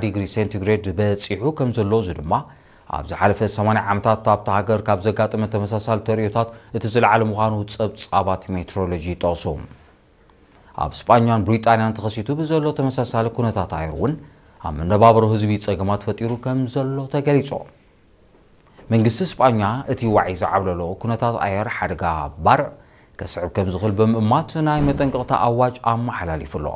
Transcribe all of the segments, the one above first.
ዲግሪ ሴንቲግሬድ በጺሑ ከም ዘሎ፣ እዚ ድማ ኣብ ዝሓለፈ ሰማንያ ዓመታት ኣብታ ሃገር ካብ ዘጋጠመ ተመሳሳሊ ተርእዮታት እቲ ዝለዓለ ምዃኑ ጸብጻባት ሜትሮሎጂ ይጠቕሱ። ኣብ ስጳኛን ብሪጣንያን ተኸሲቱ ብዘሎ ተመሳሳሊ ኩነታት ኣየር እውን ኣብ መነባብሮ ህዝቢ ጸገማት ፈጢሩ ከም ዘሎ ተገሊጹ። መንግስቲ ስጳኛ እቲ ዋዒ ዝዓብለሎ ኩነታት ኣየር ሓደጋ ባርዕ ከስዕብ ከም ዝኽእል ብምእማት ናይ መጠንቀቕታ ኣዋጅ ኣመሓላሊፉ ኣሎ።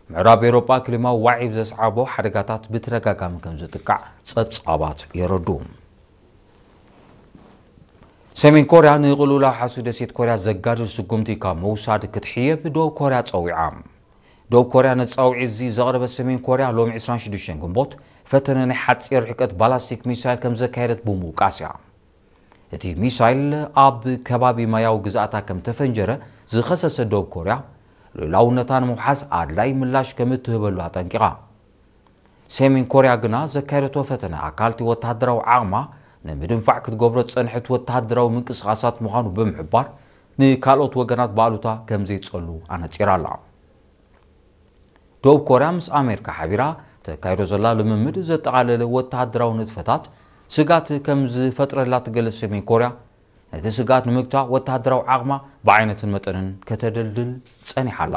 ምዕራብ ኤውሮጳ ክሊማዊ ዋዒ ብዘስዓቦ ሓደጋታት ብተደጋጋሚ ከም ዝጥቃዕ ጸብጻባት የረዱ። ሰሜን ኮርያ ንቕልውላው ሓሱ ደሴት ኮርያ ዘጋድድ ስጉምቲ ካብ ምውሳድ ክትሕየብ ደቡብ ኮርያ ጸዊዓ። ደቡብ ኮርያ ነቲ ጻውዒት እዚ ዘቕረበት ሰሜን ኮርያ ሎሚ ዕስራን ሽዱሽተን ግንቦት ፈተነ ናይ ሓጺር ርሕቀት ባላስቲክ ሚሳይል ከም ዘካየደት ብምውቃስ እያ። እቲ ሚሳይል ኣብ ከባቢ ማያዊ ግዝኣታ ከም ተፈንጀረ ዝኸሰሰት ደቡብ ኮርያ፣ ልኡላውነታ ንምውሓስ ኣድላይ ምላሽ ከም እትህበሉ ኣጠንቂቓ። ሰሜን ኮርያ ግና ዘካየደቶ ፈተነ ኣካል እቲ ወተሃደራዊ ዓቕማ ንምድንፋዕ ክትገብሮ ዝጸንሐት ወተሃደራዊ ምንቅስቓሳት ምዃኑ ብምሕባር፣ ንካልኦት ወገናት ብኣሉታ ከም ዘይጸሉ ኣነጺራ ኣላ። ደቡብ ኮርያ ምስ ኣሜሪካ ሓቢራ ተካይዶ ዘላ ልምምድ ዘጠቓለለ ወተሃደራዊ ንጥፈታት ስጋት ከም ዝፈጥረላ ትገልጽ ሰሜን ኮርያ፣ ነቲ ስጋት ንምግታእ ወተሃደራዊ ዓቕማ ብዓይነትን መጠንን ከተደልድል ጸኒሓ ኣላ።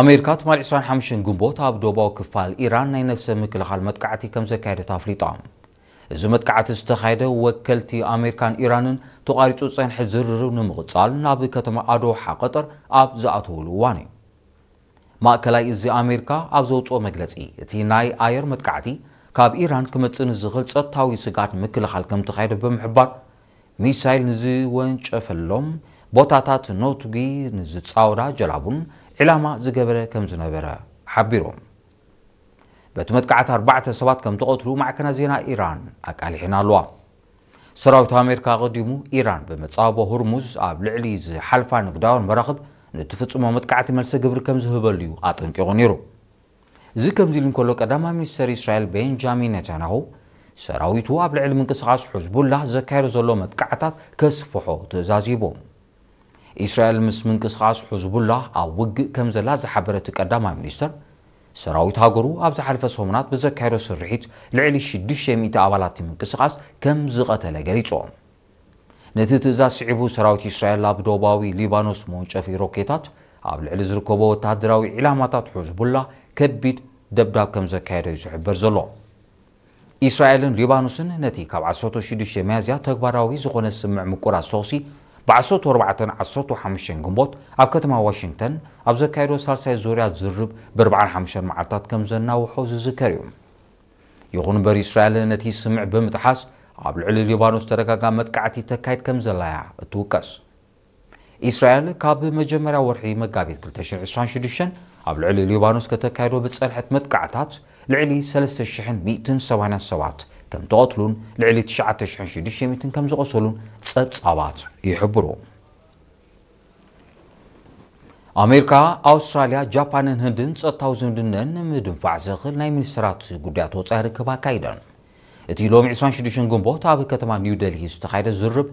ኣሜሪካ ትማሊ ዕስራን ሓሙሽተን ግንቦት ኣብ ደቡባዊ ክፋል ኢራን ናይ ነፍሰ ምክልኻል መጥቃዕቲ ከም ዘካየደት ኣፍሊጣ። እዚ መጥቃዕቲ ዝተኻየደ ወከልቲ ኣሜሪካን ኢራንን ተቋሪጹ ዝጸንሐ ዝርርብ ንምቕጻል ናብ ከተማ ኣዶሓ ቀጠር ኣብ ዝኣተውሉ እዋን እዩ። ማእከላይ እዚ ኣሜሪካ ኣብ ዘውጽኦ መግለጺ፣ እቲ ናይ ኣየር መጥቃዕቲ ካብ ኢራን ክመጽእ ንዝኽእል ጸጥታዊ ስግኣት ንምክልኻል ከም ተኻየደ ብምሕባር፣ ሚሳይል ንዝወንጨፈሎም ቦታታት ነቱጊ ንዝጻወዳ ጀላቡን ዒላማ ዝገበረ ከም ዝነበረ ሓቢሩ። በቲ መጥቃዕቲ ኣርባዕተ ሰባት ከም ተቐትሉ ማዕከናት ዜና ኢራን ኣቃሊሐን ኣለዋ። ሰራዊት ኣሜሪካ ኣቐዲሙ ኢራን ብመጻወቦ ሁርሙዝ ኣብ ልዕሊ ዝሓልፋ ንግዳውያን መራኽብ ንትፍጽሞ መጥቃዕቲ መልሰ ግብሪ ከም ዝህበሉ እዩ ኣጠንቂቑ ነይሩ። እዚ ከምዚ ኢሉ እንከሎ፣ ቀዳማይ ሚኒስተር እስራኤል ቤንጃሚን ኔታንያሁ ሰራዊቱ ኣብ ልዕሊ ምንቅስቓስ ሑዝቡላህ ዘካየዶ ዘሎ መጥቃዕታት ከስፍሖ ትእዛዝ ሂቡ። እስራኤል ምስ ምንቅስቓስ ሑዝቡላህ ኣብ ውግእ ከም ዘላ ዝሓበረ እቲ ቀዳማይ ሚኒስተር፣ ሰራዊት ሃገሩ ኣብ ዝሓለፈ ሰሙናት ብዘካየዶ ስርሒት ልዕሊ ሽዱሽተ ሚእቲ ኣባላት እቲ ምንቅስቓስ ከም ዝቐተለ ገሊጹ። ነቲ ትእዛዝ ስዒቡ ሰራዊት እስራኤል ኣብ ደቡባዊ ሊባኖስ መወንጨፊ ሮኬታት ኣብ ልዕሊ ዝርከቦ ወተሃደራዊ ዒላማታት ሑዝቡላህ ከቢድ ደብዳብ ከም ዘካየደ እዩ ዝሕበር ዘሎ። እስራኤልን ሊባኖስን ነቲ ካብ ዓሰርተ ሽዱሽተ ሚያዝያ ተግባራዊ ዝኾነ ስምምዕ ምቁራጽ ተኹሲ ብ ዓሰርተ ኣርባዕተን ዓሰርተ ሓሙሽተን ግንቦት ኣብ ከተማ ዋሽንግተን ኣብ ዘካየዶ ሳልሳይ ዙርያ ዝርርብ ብ ኣርባዓን ሓሙሽተን መዓልታት ከም ዘናውሖ ዝዝከር እዩ። ይኹን እምበር እስራኤል ነቲ ስምምዕ ብምጥሓስ ኣብ ልዕሊ ሊባኖስ ተደጋጋሚ መጥቃዕቲ ተካይድ ከም ዘላ እያ እትውቀስ። እስራኤል ካብ መጀመርያ ወርሒ መጋቢት ክልተ ሽሕን ዕስራን ሽዱሽተን ኣብ ልዕሊ ሊባኖስ ከተካይዶ ብዝጸንሐት መጥቃዕታት ልዕሊ ሰለስተ ሽሕን ሚእትን ሰማንያን ሰባት ከም ተቐትሉን ልዕሊ ትሽዓተ ሽሕን ሽዱሽተ ሚእትን ከም ዝቖሰሉን ጸብጻባት ይሕብሩ። ኣሜሪካ፣ ኣውስትራልያ፣ ጃፓንን ህንድን ጸጥታዊ ዝምድነን ንምድንፋዕ ዘኽእል ናይ ሚኒስትራት ጉዳያት ወጻኢ ርክብ ኣካይደን። እቲ ሎሚ ዕስራን ሽዱሽተን ግንቦት ኣብ ከተማ ኒው ደልሂ ዝተኻየደ ዝርብ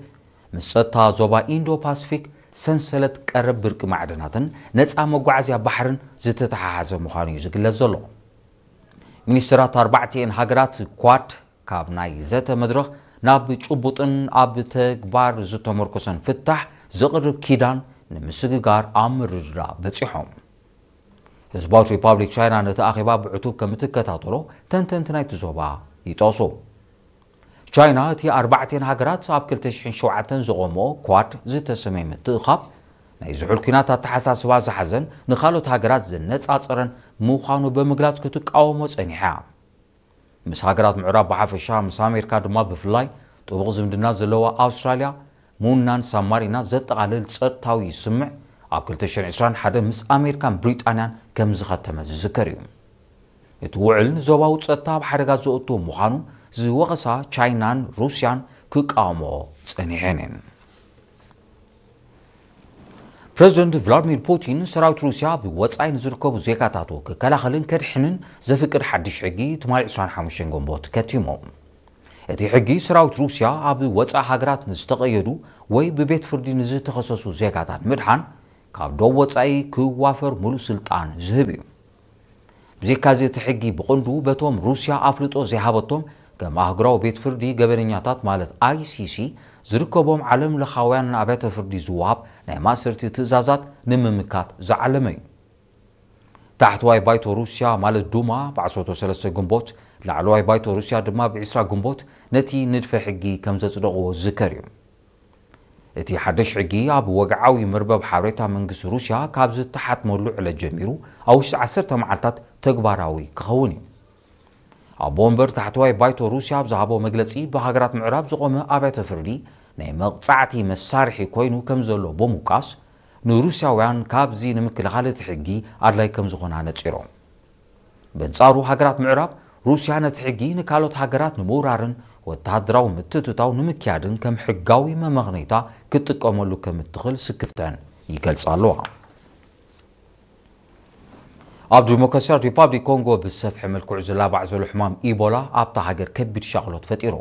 ምስ ጸጥታ ዞባ ኢንዶ ፓሲፊክ፣ ሰንሰለት ቀረብ ብርቂ ማዕድናትን ነጻ መጓዓዝያ ባሕርን ዝተተሓሓዘ ምዃኑ እዩ ዝግለጽ ዘሎ። ሚኒስትራት ኣርባዕቲኤን ሃገራት ኳድ ካብ ናይ ዘተ መድረኽ ናብ ጭቡጥን ኣብ ተግባር ዝተመርኮሰን ፍታሕ ዘቕርብ ኪዳን ንምስግጋር ኣብ ምርድዳእ በጺሖም። ህዝባዊት ሪፓብሊክ ቻይና ነቲ ኣኼባ ብዕቱብ ከም እትከታተሎ ተንተንቲ ናይቲ ዞባ ይጠቕሱ። ቻይና እቲ ኣርባዕቲኤን ሃገራት ኣብ ክልተ ሽሕን ሸውዓተን ዝቖመኦ ኳድ ዝተሰመየ ምትእኻብ ናይ ዝሑል ኲናት ኣተሓሳስባ ዝሓዘን ንኻልኦት ሃገራት ዘነጻጸረን ምዃኑ ብምግላጽ ክትቃወሞ ጸኒሓ። ምስ ሃገራት ምዕራብ ብሓፈሻ፣ ምስ ኣሜሪካ ድማ ብፍላይ ጥቡቕ ዝምድና ዘለዋ ኣውስትራልያ፣ ሙናን ሳማሪና ዘጠቓልል ጸጥታዊ ስምምዕ ኣብ ክልተ ሽሕን ዕስራን ሓደ ምስ ኣሜሪካን ብሪጣንያን ከም ዝኸተመ ዝዝከር እዩ። እቲ ውዕል ንዞባዊ ጸጥታ ኣብ ሓደጋ ዘእቱ ምዃኑ ዝወቐሳ ቻይናን ሩስያን ክቃወሞ ጸኒሐን እየን። ፕረዚደንት ቭላድሚር ፑቲን ሰራዊት ሩስያ ኣብ ወጻኢ ንዝርከቡ ዜጋታቱ ክከላኸልን ከድሕንን ዘፍቅድ ሓድሽ ሕጊ ትማሊ ዕስራን ሓሙሽተን ግንቦት ከቲሙ። እቲ ሕጊ ሰራዊት ሩስያ ኣብ ወጻኢ ሃገራት ንዝተቐየዱ ወይ ብቤት ፍርዲ ንዝተኸሰሱ ዜጋታት ምድሓን ካብ ዶብ ወጻኢ ክዋፈር ሙሉእ ስልጣን ዝህብ እዩ። ብዘይካዚ እቲ ሕጊ ብቕንዱ በቶም ሩስያ ኣፍልጦ ዘይሃበቶም ከም ኣህጉራዊ ቤት ፍርዲ ገበነኛታት ማለት I C C ዝርከቦም ዓለም ለኻውያን ኣብያተ ፍርዲ ዝወሃብ ናይ ማእሰርቲ ትእዛዛት ንምምካት ዝዓለመ እዩ። ታሕተዋይ ባይቶ ሩስያ ማለት ዱማ ብ ዓሰርተ ሰለስተ ግንቦት፣ ላዕለዋይ ባይቶ ሩስያ ድማ ብ ዕስራ ግንቦት ነቲ ንድፈ ሕጊ ከም ዘጽደቕዎ ዝዝከር እዩ። እቲ ሓድሽ ሕጊ ኣብ ወግዓዊ መርበብ ሓበሬታ መንግስቲ ሩስያ ካብ ዝተሓትመሉ ዕለት ጀሚሩ ኣብ ውሽጢ ዓሰርተ መዓልታት ተግባራዊ ክኸውን እዩ። ኣቦ ወንበር ታሕተዋይ ባይቶ ሩስያ ኣብ ዝሃቦ መግለጺ፣ ብሃገራት ምዕራብ ዝቖመ ኣብያተ ፍርዲ ናይ መቕጻዕቲ መሳርሒ ኮይኑ ከም ዘሎ ብምውቃስ፣ ንሩስያውያን ካብዚ ንምክልኻል እቲ ሕጊ ኣድላይ ከም ዝኾነ ኣነጺሮም። በንጻሩ፣ ሃገራት ምዕራብ ሩስያ ነቲ ሕጊ ንካልኦት ሃገራት ንምውራርን ወተሃደራዊ ምትእትታው ንምክያድን ከም ሕጋዊ መመኽነይታ ክትጥቀመሉ ከም እትኽእል ስክፍተን ይገልጻ ኣለዋ። ኣብ ዲሞክራሲያዊት ሪፓብሊክ ኮንጎ ብዝሰፍሐ መልክዑ ዝላባዕ ዘሎ ሕማም ኢቦላ ኣብታ ሃገር ከቢድ ሻቕሎት ፈጢሩ።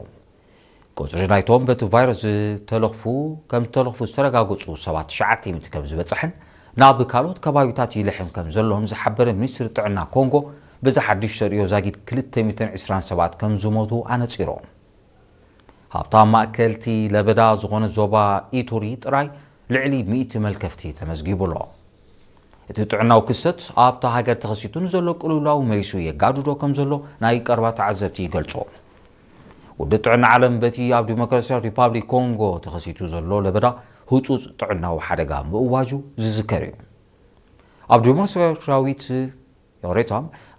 ቁጽሪ ናይቶም በቲ ቫይረስ ዝተለኽፉ ከም ዝተለኽፉ ዝተረጋገጹ ሰባት ትሽዓተ ሚእቲ ከም ዝበጽሐን ናብ ካልኦት ከባቢታት ይልሕም ከም ዘሎን ዝሓበረ ሚኒስትሪ ጥዕና ኮንጎ፣ በዚ ሓድሽ ተርእዮ ዛጊድ ክልተ ሚእትን ዕስራን ሰባት ከም ዝሞቱ ኣነጺሩ። ሃብታም ማእከልቲ ለበዳ ዝኾነ ዞባ ኢቱሪ ጥራይ ልዕሊ ሚእቲ መልከፍቲ ተመዝጊቡ ኣሎ። እቲ ጥዕናዊ ክስተት ኣብታ ሃገር ተኸሲቱ ንዘሎ ቅልውላው መሊሱ የጋድዶ ከም ዘሎ ናይ ቀረባ ተዓዘብቲ ይገልጹ። ውድብ ጥዕና ዓለም በቲ ኣብ ዲሞክራሲያዊት ሪፓብሊክ ኮንጎ ተኸሲቱ ዘሎ ለበዳ ህጹጽ ጥዕናዊ ሓደጋ ምእዋጁ ዝዝከር እዩ። ኣብ ዲሞክራሲያዊት፣ ይቕሬታ፣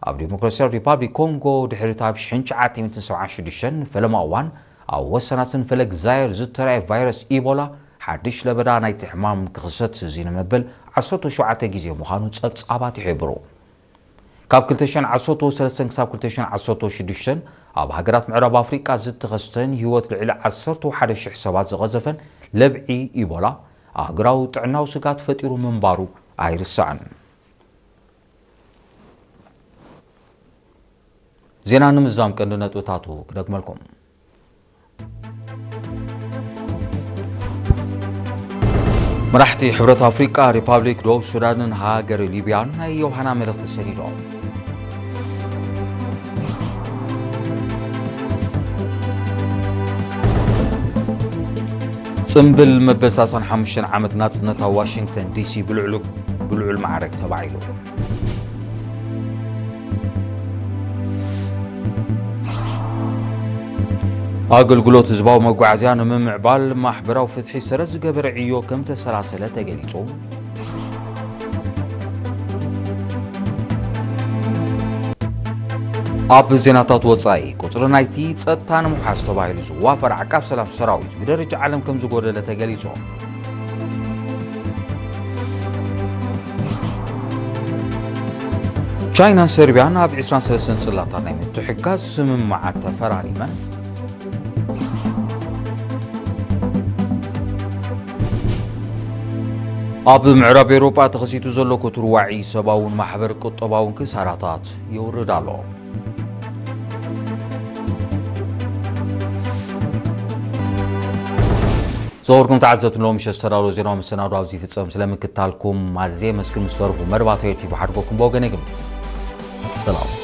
ኣብ ዲሞክራሲያዊት ሪፓብሊክ ኮንጎ ድሕሪ እቲ ኣብ ሽሕን ትሽዓተ ሚእትን ሰብዓን ሽዱሽተን ፈለማ እዋን ኣብ ወሰናስን ፈለግ ዛየር ዝተራእየ ቫይረስ ኢቦላ ሓድሽ ለበዳ ናይቲ ሕማም ክኽሰት እዚ ንመበል ዓሰርተ ሸውዓተ ግዜ ምዃኑ ጸብጻባት ይሕብሩ። ካብ ክልተ ሽሕን ዓሰርተ ሰለስተን ክሳብ ክልተ ሽሕን ዓሰርተ ሽዱሽተን ኣብ ሃገራት ምዕራብ ኣፍሪቃ ዝተኸስተን ህይወት ልዕሊ ዓሰርተ ሓደ ሽሕ ሰባት ዝቐዘፈን ለብዒ ኢቦላ ኣህጉራዊ ጥዕናዊ ስጋት ፈጢሩ ምንባሩ ኣይርሳዕን። ዜና ንምዝዛም ቀንዲ ነጥብታቱ ክደግመልኩም። መራሕቲ ሕብረት ኣፍሪቃ፣ ሪፓብሊክ ደቡብ ሱዳንን ሃገር ሊብያን ናይ ዮሃና መልእኽቲ ሰዲዶም። ጽምብል መበል ሰላሳን ሓሙሽተን ዓመት ናጽነት ኣብ ዋሽንግተን ዲሲ ብልዑል፣ ብልዑል ማዕረግ ተባዒሉ። ኣገልግሎት ህዝባዊ መጓዓዝያ ንምምዕባል ማሕበራዊ ፍትሒ ሰረት ዝገበረ ዕዮ ከም ተሰላሰለ ተገሊጹ። ኣብ ዜናታት ወጻኢ፣ ቁጽሪ ናይቲ ጸጥታ ንምውሓስ ተባሂሉ ዝዋፈር ዓቃብ ሰላም ሰራዊት ብደረጃ ዓለም ከም ዝጎደለ ተገሊጹ። ቻይናን ሰርቢያን ኣብ ዕስራን ሰለስተን ጽላታት ናይ ምትሕግጋዝ ስምምዓት ተፈራሪመን። ኣብ ምዕራብ ኤውሮጳ ተኸሲቱ ዘሎ ክቱር ዋዒ ሰብኣውን ማሕበር ቁጠባውን ክሳራታት የውርድ ኣሎ። ዝኸበርኩም ተዓዘብቲ፣ ሎሚ ምሸት ዝተዳለወ ዜናዊ መሰናዶ ኣብዚ ይፍጸም። ስለ ምክታልኩም ኣዝየ የመስግን። ምስ ተረፉ መደባት ሬድዮ ቲቪ ሓድጎኩም ብወገነይ ግን ሰላም።